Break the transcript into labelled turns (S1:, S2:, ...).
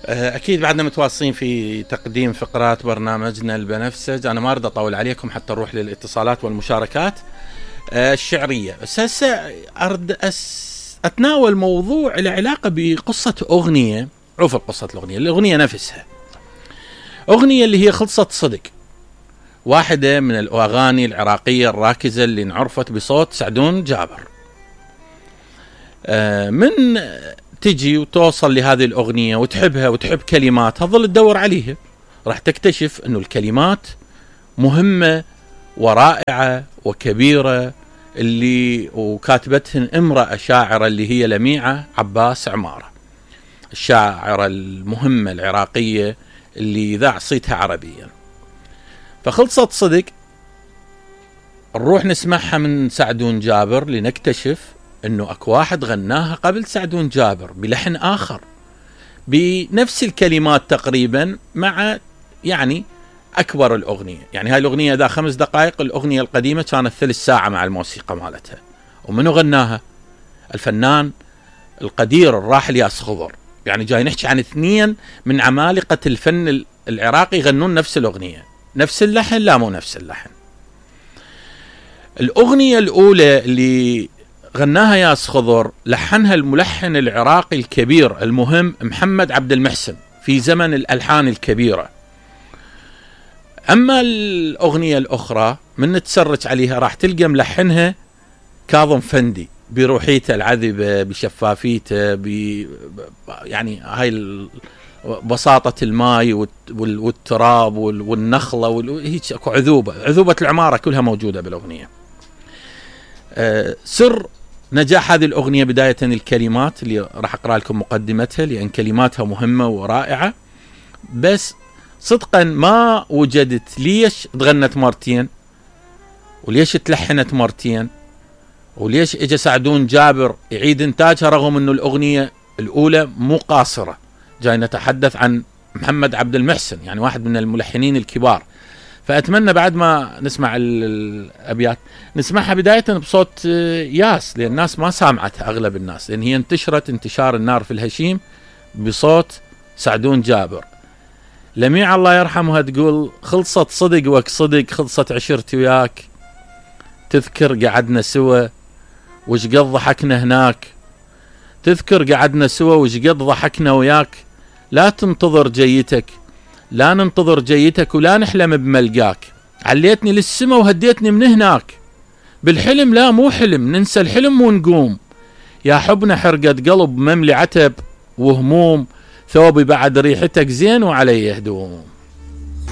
S1: أكيد بعدنا متواصلين في تقديم فقرات برنامجنا البنفسج. أنا ما أريد أطول عليكم حتى نروح للاتصالات والمشاركات الشعرية، بس هسه أريد أتناول موضوع العلاقة بقصة أغنية. عوف قصة الأغنية نفسها، أغنية اللي هي خلصت صدق، واحدة من الأغاني العراقية الراكزة اللي انعرفت بصوت سعدون جابر. من تجي وتوصل لهذه الأغنية وتحبها وتحب كلماتها، ظل تدور عليها، راح تكتشف أنه الكلمات مهمة ورائعة وكبيرة، اللي وكاتبتهن امرأة شاعرة اللي هي لميعة عباس عمارة، الشاعرة المهمة العراقية اللي ذاع صيتها عربيا. فخلصت صدق نروح نسمعها من سعدون جابر لنكتشف انه اكو واحد غناها قبل سعدون جابر بلحن اخر بنفس الكلمات تقريبا، مع يعني اكبر الاغنيه. يعني هاي الاغنيه ذا 5 دقائق، الاغنيه القديمه كانت 3 ساعة مع الموسيقى مالتها. ومنو غناها؟ الفنان القدير الراحل ياس خضر. يعني جاي نحكي عن 2 من عمالقه الفن العراقي يغنون نفس الاغنيه، نفس اللحن؟ لا، مو نفس اللحن. الاغنيه الاولى اللي غناها ياس خضر لحنها الملحن العراقي الكبير المهم محمد عبد المحسن في زمن الألحان الكبيرة. أما الأغنية الأخرى من نتسرج عليها راح تلقى ملحنها كاظم فندي بروحيته العذبة، بشفافيته، يعني هاي بساطة الماء والتراب والنخلة، هيك اكو عذوبة العمارة كلها موجودة بالأغنية. سر نجاح هذه الأغنية بداية الكلمات اللي راح أقرأ لكم مقدمتها، لأن كلماتها مهمة ورائعة. بس صدقا ما وجدت ليش تغنت مرتين، وليش تلحنت مرتين، وليش اجى سعدون جابر يعيد انتاجها رغم انه الأغنية الأولى مو قاصرة. جاي نتحدث عن محمد عبد المحسن، يعني واحد من الملحنين الكبار. فأتمنى بعد ما نسمع الأبيات نسمعها بداية بصوت ياس، لأن الناس ما سامعتها أغلب الناس، لأن هي انتشرت انتشار النار في الهشيم بصوت سعدون جابر. لميع الله يرحمها تقول: خلصت صدق وك صدق، خلصت عشرتي وياك، تذكر قعدنا سوا وش قد ضحكنا هناك، تذكر قعدنا سوا وش قد ضحكنا وياك، لا تنتظر جيتك، لا ننتظر جيتك، ولا نحلم بملقاك، عليتني للسما وهديتني من هناك، بالحلم لا مو حلم، ننسى الحلم ونقوم، يا حبنا حرقة قلب مملي عتب وهموم، ثوبي بعد ريحتك زين وعلي هدوم.